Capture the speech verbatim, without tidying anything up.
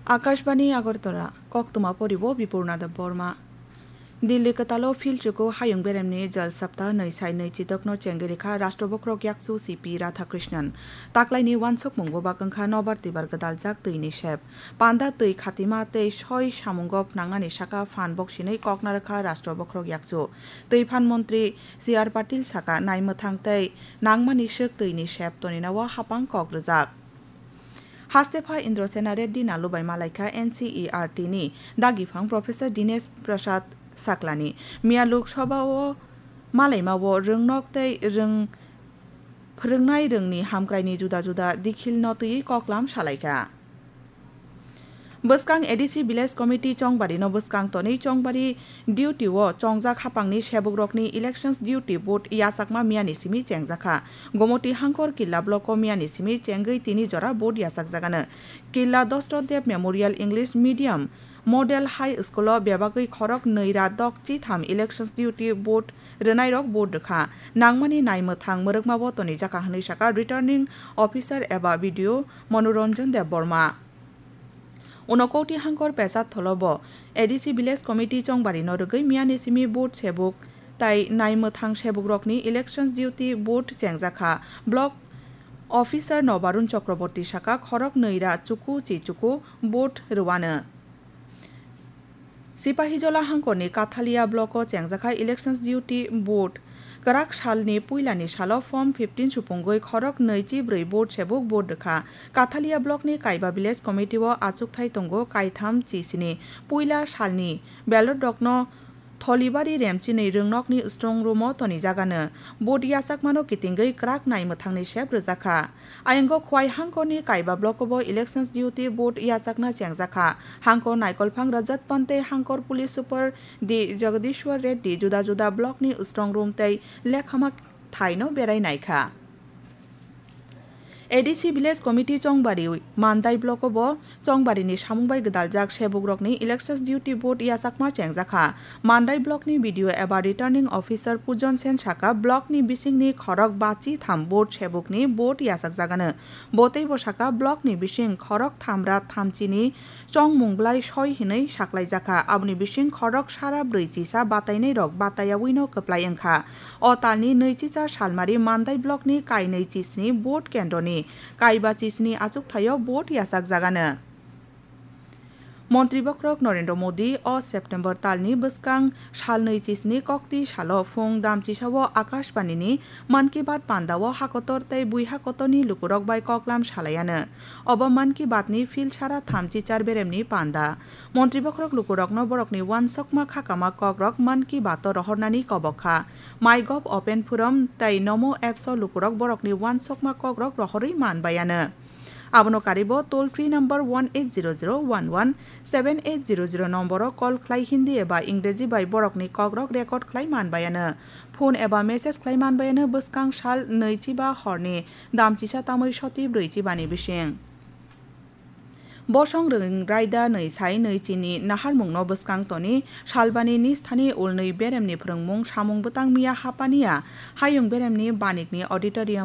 Akashbani Agartala, koktwma poribo Bipurna Debbarma. Delhi kwtalo philchuku hayung beremni Jal Saptah nwi sai nwi chidokno chengwi rikha Rashtra Bokhorok Yakchu C P Radhakrishnan. Taklaini uansukmung bubak wngkha nobar twibar gwdaljak twini sep. Panda twi khatima tei soi samungo phnangnani saka phan boksinwi kokna rwkha Rashtra Bokhorok Yakchu. Twi phan montri C R Patil saka naimwthang tei nangmani swk twini sep tonina o hapang kok rwjak. Hastepha Indrasena Reddy Nalubai malaikha N C E R T ni dagiphang Professor Dinesh Prasad Saklani. Miya Lok Sabha o malaima o rwngnok tei rwng phwrwngnai rwngni hamkraini juda juda dikhilno twiwi koklam salaikha. Bwskang A D C Village Committee Chongbari no bwskang tonwi Chongbari duty o chongjak hapangni sebukrokni elections duty vote yachakma miyani simi chengjakha. Gomoti Hangkor Killa block o miyani simi chengwi tini jora vote yachakjagano. Killa Dasarath Deb Memorial English Medium Model High School o bebagwi khorok nwi ra dok chitham elections duty vote rwnairok vote rwkha. Nangmani naimwthang mwrwkma bo tonijakha hwnwi sakha Returning Officer eba B D O Manoranjan Debbarma. Unokoti Hangkor Pesat Tholo bo A D C Village Committee Chongbari no rwgwi miyani simi vote sebuk tai naimwthang sebukrokni elections duty vote chengjakha. Block Officer Nobarun Chakraborty saka khorok nwi ra chuku chi chuku vote rwano. Sipahijola Hangkorni Kathalia block o chengjakha elections duty vote. Kwrak salni puilani salo form fifteen supungwi khorok nwi chi brwi vote sebuk vote rwkha. Kathalia blockni Kaiba Village Committee o achukthai tongo kaitham chi sini. Puila salni ballot rokno Tholibari Remchini rwngnokni strong room o tonijagano. Vote yachakmano kitingwi kwrak naimwthangni sep rwjakha. Ayongo Khwai Hangkorni Kaiba block o bo elections duty vote yachakna chengjakha. Hangkor Naikolphang Rajat Pante, Hangkor Police Super D Jagadishwar Reddy juda juda blockni strong room tei lekhama thaino berai naikha. A D C Village Committee Chongbari Mandai block o bo Chongbarini samung bai gwdaljak sebukrokni elections duty vote yachakma chengjakha. Mandai blockni B D O eba Returning Officer Pujon Sen saka blockni bisingni khorok bachi tham vote sebukni vote yachakjagano. Bo teibo saka blockni bising khorok tham ra thamchini chongmung blai soi hinwi saklaijakha. Aboni bising khorok sara brwi chisa batainairok batayawino kwplai wngkha. O talni nwichicha salmari Mandai blockni kainwi chisni vote kendroni kaiba chisni achukthai o vote yachakjagano. Montri Bokhorok Narendra Modi o September talni bwskang salnwi chisni kokti salo phung damchisa o Akashbani ni Mann Ki Baat panda o hakotor tei bui hakotorni lukurok bai koklam salaiano. Obo Mann Ki Baat ni field sara thamchi char beremni panda. Montri Bokhorok lukurokno borokni uansukma khakama kokrok Mann Ki Baat o rohornani kobok kha. MyGov Open Forum tei Namo Apps o lukurok borokni uansukma kokrok rohorwi man baiano. Abono karibo toll free number one eight zero zero one one seven eight zero zero nomboro call khlai Hindi eba Ingreji bai borokni kokrok record khlai man baiano. Phone eba message khlai man baiano bwskang sal nwi chiba horni damchisa tamwi soti brwi chibani bising. Bosong rwng raida nwi sai nwi chini naharmungno bwskang toni salbani nisthani ulnwi beremni phwrwngmung samung bwtang miya hapaniya hayung beremni banikni auditorium